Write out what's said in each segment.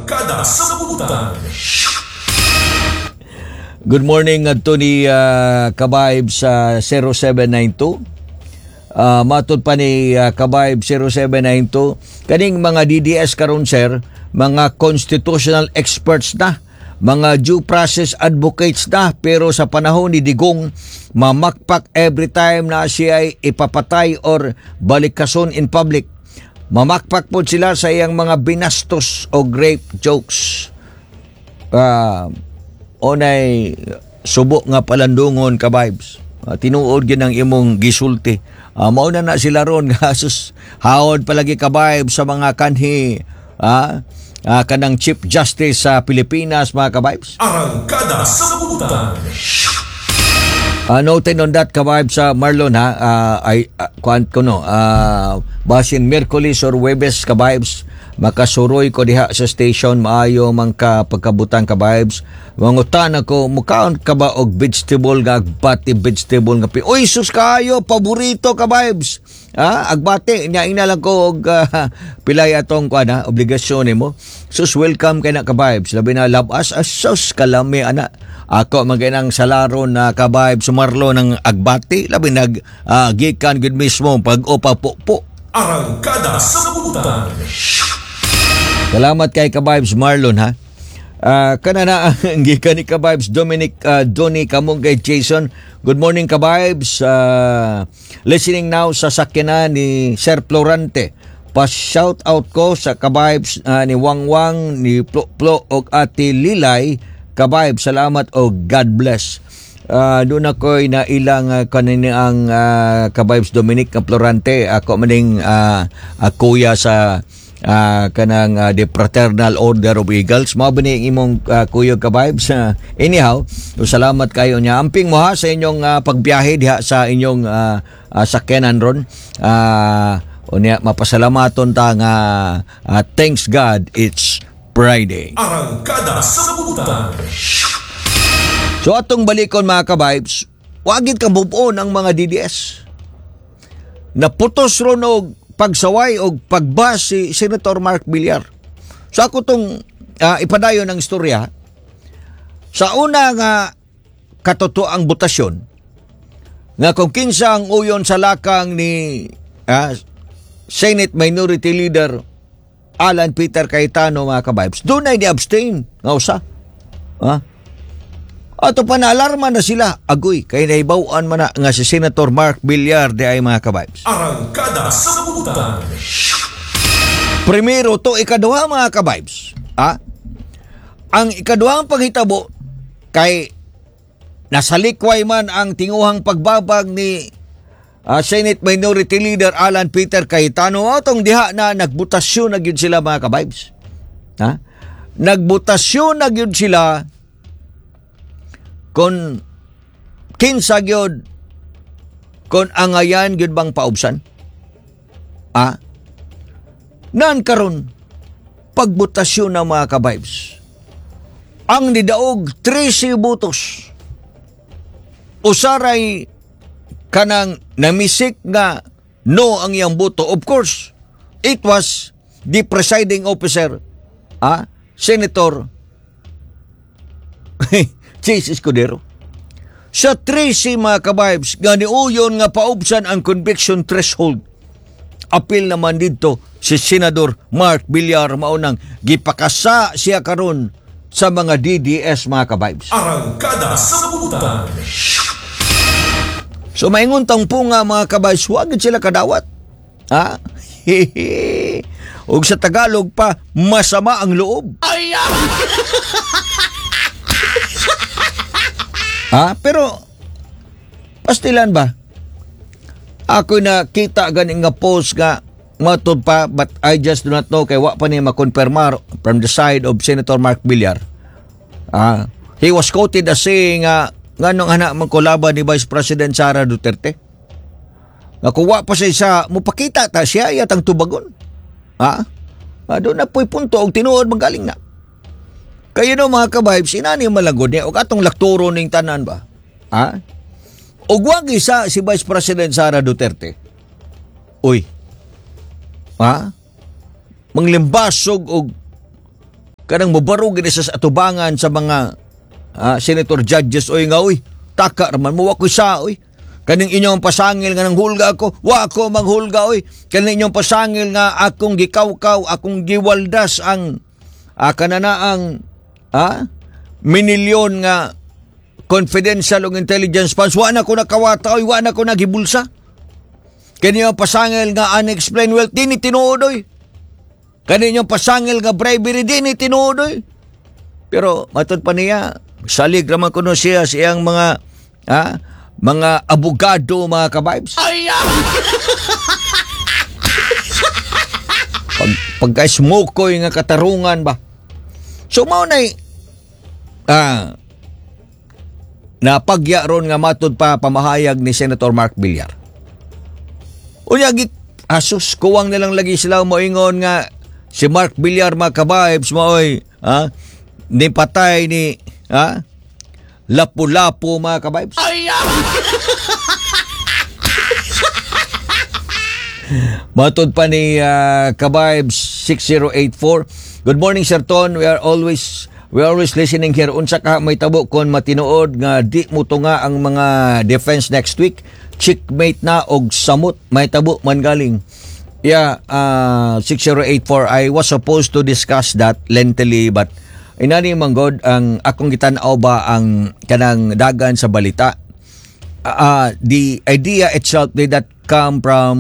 Arangkada sa Butan. Good morning adto ni Kabayb sa 0792. Matod pa ni Kabayb 0792, kaning mga DDS karon, sir, mga constitutional experts na, mga due process advocates na, pero sa panahon ni Digong, mamakpak every time na siya ay ipapatay or balikason in public. Mamakpak po sila sa iyang mga binastos o rape jokes. Onay subo nga palandungon ka, vibes. Tinuod gyud ang imong gisulti. Mao na na sila ron nga sus haod palagi ka, vibes, sa mga kanhi kanang Chief Justice sa Pilipinas, mga ka-vibes. Arangkada sa Butan. Noted on that, ka-vibes sa Marlon ha, ay kuan ko no, basin Miyerkules or Huwebes, ka-vibes, makasuroy ko diha sa station, maayo man ka pagkabutang, ka-vibes. Mangutan ako, mukaon ka ba og vegetable nga agbati, vegetable nga pi? Uy, sus kayo, paborito, ka-vibes. Agbati nya ina lang ko og pilay atong kuan ha, obligasyon nimo. Sus, welcome kay na, ka-vibes. Labi na labas, sus kalami ana. Ako maginang salaro na, ka-vibes Marlon, ng agbati, labi nag gikan gud mismo pag opa po. Arangkada sa Butan. Salamat kay ka-vibes Marlon ha. Kana na ang gikan ni ka-vibes Dominic Donny Kamungay Jason. Good morning, ka-vibes. Listening now sa sakyanan ni Sir Florante. Pa shout out ko sa ka-vibes ni Wangwang, ni Plo Plo og Ate Lilay. Ka-vibes, salamat og God bless. Doon ako'y nailang kanini ang ka-vibes Dominic Florante. Ako maning kuya sa kanang the Fraternal Order of Eagles. Mao ba ni imong kuya, ka-vibes? Anyhow, so salamat kayo niya. Amping mo ha sa inyong pagbiyahe diha sa inyong sakyanan ron. Unya mapasalamaton ta nga thanks God it's Friday. Arangkada sa Butan. So atong balikon, mga ka-vibes, wagid ka move on ang mga DDS. Naputos ron og pagsaway og pagbas si Senator Mark Villar. So ako tong ipadayon ang istorya. Sa una nga katotoang botasyon, nga kung kinsa ang uyon sa lakang ni Senate Minority Leader Alan Peter Cayetano, mga ka-vibes, doon ay ni-abstain nga usa. Ah? Ato pa na alarma na sila. Agoy, kay naibawan man na nga si Senator Mark Villar di ay, mga ka-vibes. Arangkada sa Butan. Primero to, ikaduha, mga ka-vibes. Ah? Ang ikaduhang panghitabo kay nasalikway man ang tinguhang pagbabag ni Senate Minority Leader Alan Peter Cayetano, atong diha na nagbutasyon na gyud sila, mga ka-vibes. Ha? Nagbutasyon na gyud sila kung kinsa gyud, kung angayan gyud bang paubsan. Ah? Nan karon pagbutasyon ng mga ka-vibes. Ang nidaog 13 butos. Usaray kanang namisik nga no ang iyang boto. Of course, it was the presiding officer, Senator Chiz Escudero. Sa 13, mga ka-vibes, nga niuyon nga paubsan ang conviction threshold. Apil naman dito si Senador Mark Villar, maunang gipakasa siya karon sa mga DDS, mga ka-vibes. Arangkada sa Butan. So maingon tang po nga, mga ka-vibes, wag sila kadawat. Ha? Ug sa Tagalog pa, masama ang loob. Ha? Pero pastilan ba? Ako na kita gani nga post nga matod pa, but I just do not know kay wa pa ni makonfirmar from the side of Senator Mark Villar. He was quoted as saying nga nganong anak man ko laban ni Vice President Sara Duterte. Nga kung wa pa siya sa mupakita ta siya yatang tubagon. Ha? Doon na po'y punto og tinuod magaling na. Kayo no, mga ka-vibes, inani malagod niya og atong lakturo ning tanan ba? Ha? Og wag isa si Vice President Sara Duterte. Uy. Ha? Manglimbasog og Kanang mobarog gid sa atubangan sa mga senator judges oy nga oy, taka raman mo, wa ko'y sa oy. Kaning inyong pasangil nga nanghulga ako, wa ako manghulga oy. Kaning inyong pasangil nga akong gikawkaw, akong giwaldas ang kanana ang minilyon nga confidential ug intelligence funds, wa na ko nakawata oy, wa na ko nagibulsa. Kani inyong pasangil nga unexplained wealth, dini tinuod oy. Kani inyong pasangil nga bribery, dini tinuod oy. Pero matod pa niya, salig raman kuno siya sa iyang mga abogado, mga kabibes. Pagka-smokoy nga katarungan ba. So mao nay napagya ron nga matod pa pamahayag ni Senator Mark Villar. Unya asus kuwang nilang lagi sila moingon nga si Mark Villar, mga kabibes, maoy ni patay ni lapu-lapu, mga kabibes. Matod pa ni Kabibes 6084. Good morning, Sir Ton. We are always listening here. Unsa ka may tabo kon matinuod nga di mo tunga ang mga defense next week? Checkmate na og samot may tabo man galing. Yeah, 6084, I was supposed to discuss that lengthily, but inani man god ang akong gitan-aw ba ang kanang dagan sa balita. The idea itself did not come from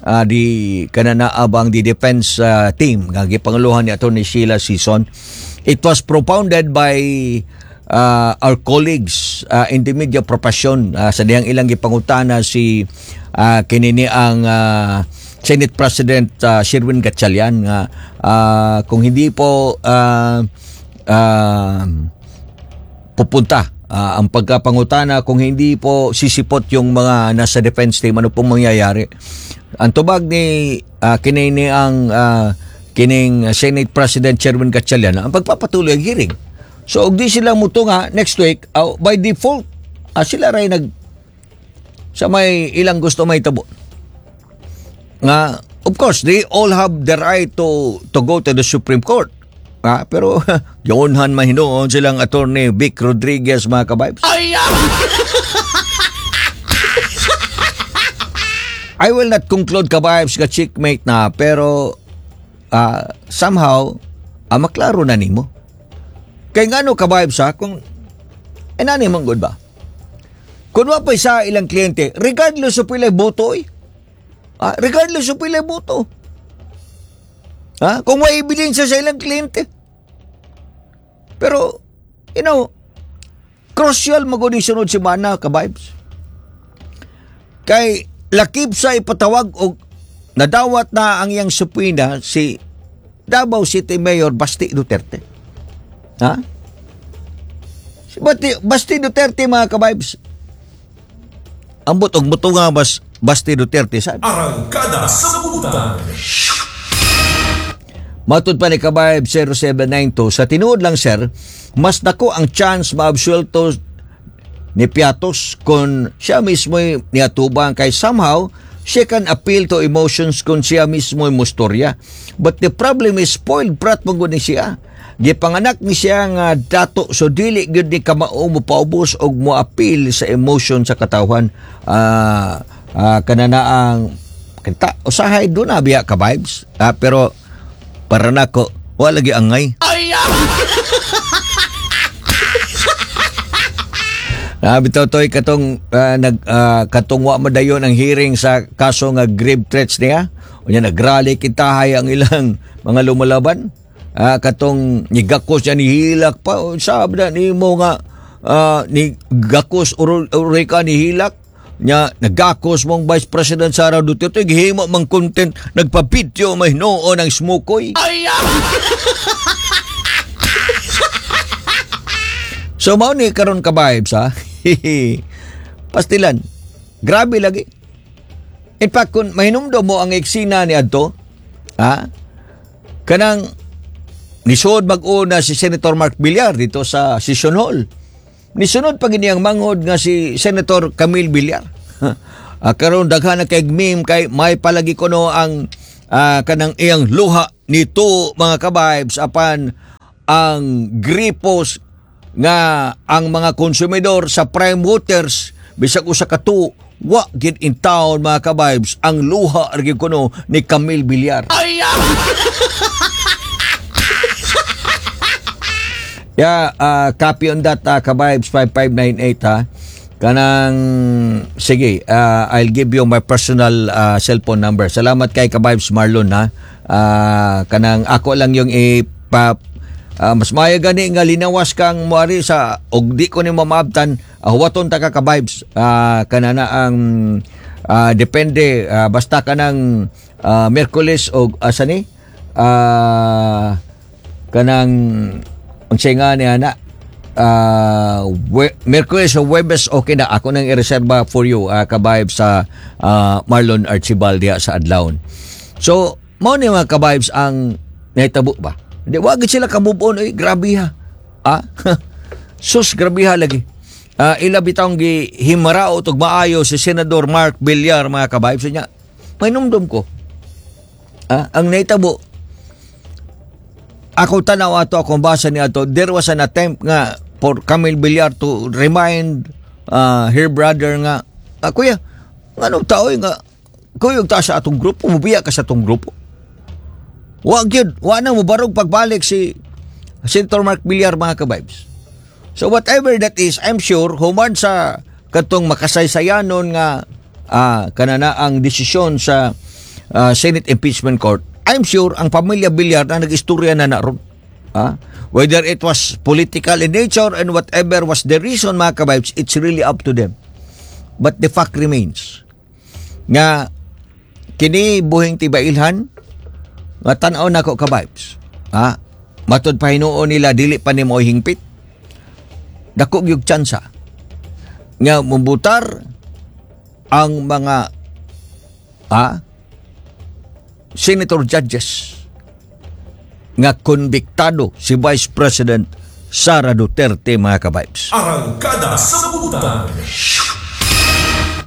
the kananaabang the defense team nga gipanguluhan ni Attorney Sheila Sison. It was propounded by our colleagues in the media profession sa diyang ilang gipangutana si kinini ang Senate President Sherwin Gatchalian nga kung hindi po pupunta ang pagkapangutana, kung hindi po sisipot yung mga nasa defense team, ano pong mangyayari? Ang tubag ni kinini ang kining Senate President Sherwin Gatchalian, ang pagpapatuloy ang hearing. So og di sila mutunga next week, by default sila ray nag sa may ilang gusto may tabo. Nga of course they all have the right to go to the Supreme Court. Pero yunhan mahinuon silang Attorney Vic Rodriguez, mga kabibes. I will not conclude, kabibes, nga checkmate na, pero somehow maklaro na nimo. Kay ngano, kabibes, ha, kung nani man gud ba? Kung wa pa sa ilang kliyente, regardless of pilay boto oy. Regardless of pilay boto. Ha? Kung may ebidensya sa ilang kliyente. Pero, crucial magud ni sunod semana, kabibes. Kay lakip sa ipatawag og nadawat na ang iyang subpoena si Davao City Mayor Basti Duterte. Ha? Si Basti Duterte, mga kabibes. Ambot og mutunga Basti Duterte sa Arangkada sa Butan. Matod pa ni Kabayb 0792, sa tinuod lang, sir, mas dako ang chance maabsuelto ni Piatos kung siya mismo niatubang kay somehow she can appeal to emotions kung siya mismo mustorya. But the problem is spoiled brat man gud ni siya. Gipanganak ni siya nga dato, so dili gyud ni kamao mo paubos og mo appeal sa emotion sa katawhan. Kananaang kita usahay do na biya ka vibes. Pero para nako wala lagi angay. Bitaw toy katong nag katong wa madayon ang hearing sa kaso nga grave threats niya. Unya nagrally kitahay ang ilang mga lumalaban. Katong nigakos niya nihilak pa, sabi na nimo nga ni gakos uri ka nihilak nya, nagakos mong Vice President Sara Duterte, gihimo mang content, nagpa-video may hinuon ang smokoy. So mao ni karon ka vibes ha. Pastilan. Grabe lagi. In fact, kung mahinumdom mo ang eksena ni adto, ha? Kanang nisuod mag-una si Senator Mark Villar dito sa Session Hall. Nisunod pa gini ang manghod nga si Senator Camille Villar. Karon daghan na kay meme kay may palagi kuno ang kanang iyang luha nito, mga kabibes, apan Ang gripos nga ang mga konsumidor sa Prime Waters bisag usa ka tuo wa gid in town, mga ka-vibes, ang luha ra gyud kuno ni Camille Villar. Yeah, copy on that, ka-vibes 5598 ha. Kanang sige, I'll give you my personal cellphone number. Salamat kay ka-vibes Marlon ha. Kanang ako lang yung ipa mas maayo gani nga linawas kang moari sa og di ko nimo maabtan, huwaton ta ka, ka-vibes. Kanana ang depende, basta kanang Miyerkules og asa ni? Kanang unsay nga ni ana, Miyerkules o Huwebes, okay na ako nang ireserba for you, ka-vibes sa Marlon Archibald diha sa Adlaon. So mao ni, mga ka-vibes, ang nahitabo ba. Di wa gid sila ka-move on oy, grabe ha. Sus, grabe ha lagi. Ila bitawng gihimaraot og maayo si Senador Mark Villar, mga ka-vibes niya. Mainumdum ko. Ang nahitabo, ako tanaw ato, akong basa ni ato, there was an attempt nga for Camille Villar to remind her brother nga, "Kuya, nganong tao nga kuyog ta sa atong grupo, mubiya ka sa atong grupo." Wa gyud, wa na mobarog pagbalik si Senator Mark Villar, mga ka-vibes. So whatever that is, I'm sure human sa katong makasaysayanon nga kanana ang desisyon sa Senate Impeachment Court, I'm sure ang pamilya Villar na nag-istorya na na ron. Whether it was political in nature and whatever was the reason, mga ka-vibes, it's really up to them. But the fact remains nga kini buhing tibailhan nga tan-aw nako, ka-vibes. Matud pa hinuon nila dili pa nimo hingpit. Dako gyud tsansa nga mubutar ang mga senator judges nga konbiktado si Vice President Sara Duterte, mga ka-vibes. Arangkada sa Butan.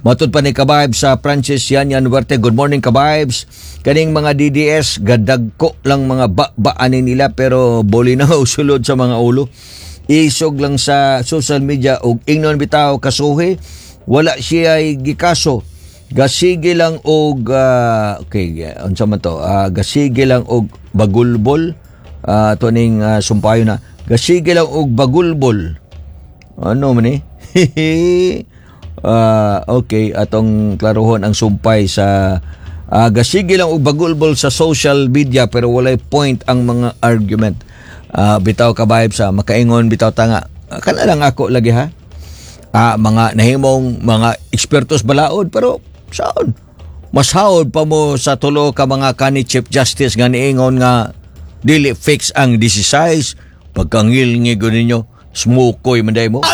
Matod pa ni ka-vibes sa Francis Yanyan Duarte, "Good morning, ka-vibes. Kaning mga DDS, gadagko lang mga ba-baanin nila pero boli na sulod sa mga ulo. Isog lang sa social media og ingnon bitaw kasuhi, wala siya gikaso. Gasige lang og okay, unsa man to? Gasige lang og bagulbol." To ning sumpayo na. Gasige lang og bagulbol. Ano man ni? Okay, atong klaruhon ang sumpay sa gasige lang og bagulbol sa social media pero walay point ang mga argument. Bitaw, ka-vibes sa makaingon bitaw tanga. Kana lang ako lagi ha. Mga nahimong mga ekspertos balaod pero saan? Mas hawod pa mo sa tulo ka mga kani Chief Justice nga niingon nga dili fix ang 16. Pagkangil ninyo, smukoy man mo.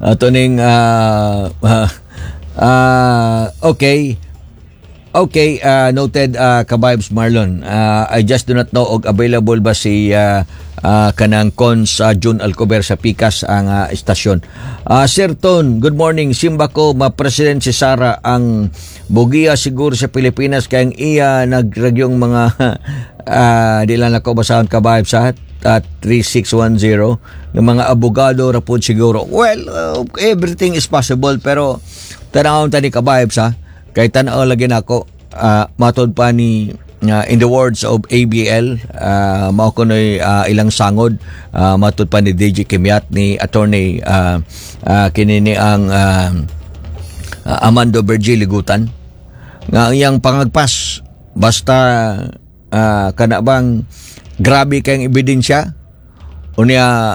Ato ning okay. Okay, noted, ka-vibes Marlon. I just do not know og available ba si kanang Cons June Alcover sa Pikas ang istasyon. Sir Ton, good morning. Simba ko ma-president si Sara, ang bugia siguro sa Pilipinas kay ang iya nagragyong mga di lang ako basahon, ka-vibes ha, at 3610 ng mga abogado ra pod siguro. Well, everything is possible pero tanawon ta ni ka-vibes ha. Kay tanaw lagi nako, matod pa ni in the words of ABL, mao kunoy ilang sangod, matod pa ni DJ Kimiat, ni attorney kini ni ang Amando Virgil Ligutan nga ang iyang pangagpas basta kana bang grabe kayong ebidensya unya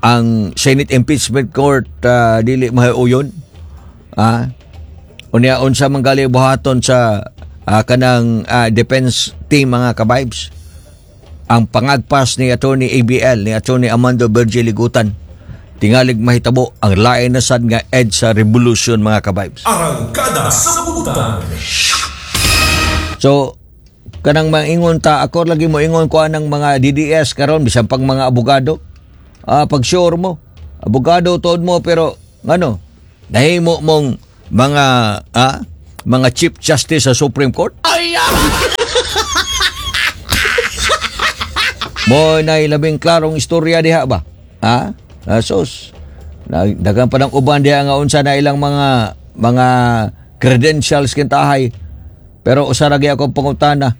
ang Senate Impeachment Court dili mahuyon, unya unsa man gali buhaton sa kanang defense team, mga ka-vibes. Ang pangagpas ni Attorney ABL, ni Attorney Amando Virgil Ligutan, tingalig mahitabo ang lain na sad nga EDSA Revolution, mga ka-vibes. Arangkada sa Butan. So kanang maingon ta, ako lagi mo ingon ko anang mga DDS karon bisan pang mga abogado. Pag sure mo, abogado tuod mo pero ngano nahimo mong mga mga Chief Justice sa Supreme Court? Mo na labing klarong istorya diha ba? Ha? Sus. Daghan pa ng uban diha nga unsa na ilang mga credentials kintahay. Pero usa ra gyud akong pangutana.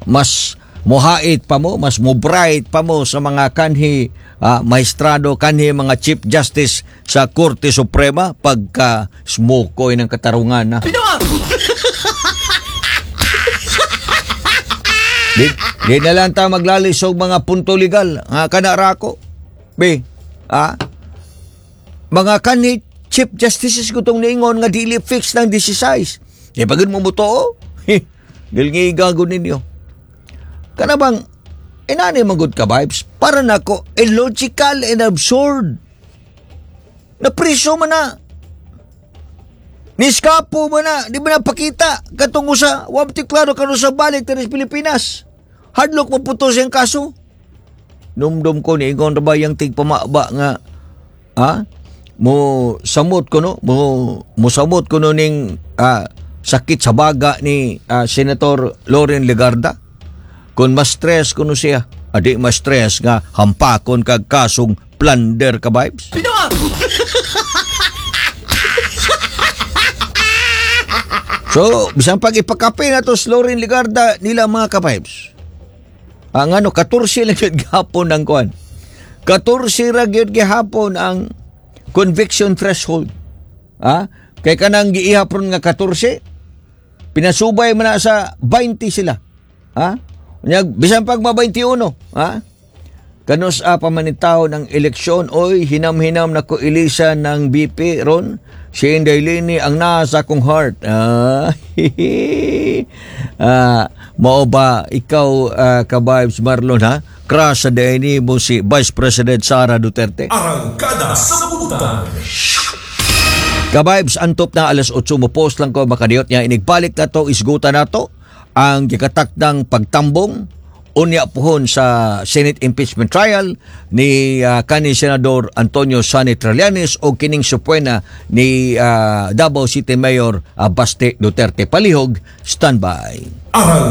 Mas muhait pa mo, mas mo bright pa mo sa mga kanhi maestrado, kanhi mga chief justice sa Korte Suprema pagka smokoy ng katarungan na. Di na lang ta maglalis og mga punto legal. Nga kana ra ako. Be, ah, mga kanhi chief justices ko tong niingon nga dili fix ng 16. Di pagod mo mutuo? Gilngiga gud ninyo. Kana bang inani magud ka, vibes para nako illogical and absurd. Napriso man na. Niskapo man na, di ba napakita katong usa, wa ti klaro kanu sa balik diri sa Pilipinas. Hadlok mo puto siyang kaso. Numdum ko niingon ra ba yang tigpamaba nga ha? Mo samot ko no, mo samot ko no ning sakit sa baga ni Senator Loren Legarda. Kung ma-stress kuno siya, adi ma-stress nga hampakon kag kasong plunder ka, vibes. So, bisan pag ipakape na to si Loren Legarda nila mga ka-vibes. Ang ano, 14 lang yun gihapon ang kuan. 14 ra gyud gihapon ang conviction threshold. Ha? Kay kanang giihapon nga 14, pinasubay man na sa 20 sila. Ha? Unya, bisan pag ma 21, ha? Kanus a pamanitaw ng eleksyon, oy, hinam-hinam na ko ilisan ng BP ron. Si Inday Leni ang nasa kong heart. Mao ba ikaw, ka-vibes Marlon, ha? Crush sa dayni mo si Vice President Sara Duterte. Arangkada sa Butan. Ka-vibes, antop na alas 8 mo post lang ko makadiyot niya inigbalik na to isgutan na to ang gikatakdang pagtambong unya pohon sa Senate impeachment trial ni kanhi Senador Antonio Sonny Trillanes o kining subpoena ni Davao City Mayor Baste Duterte. Palihog, standby. Arang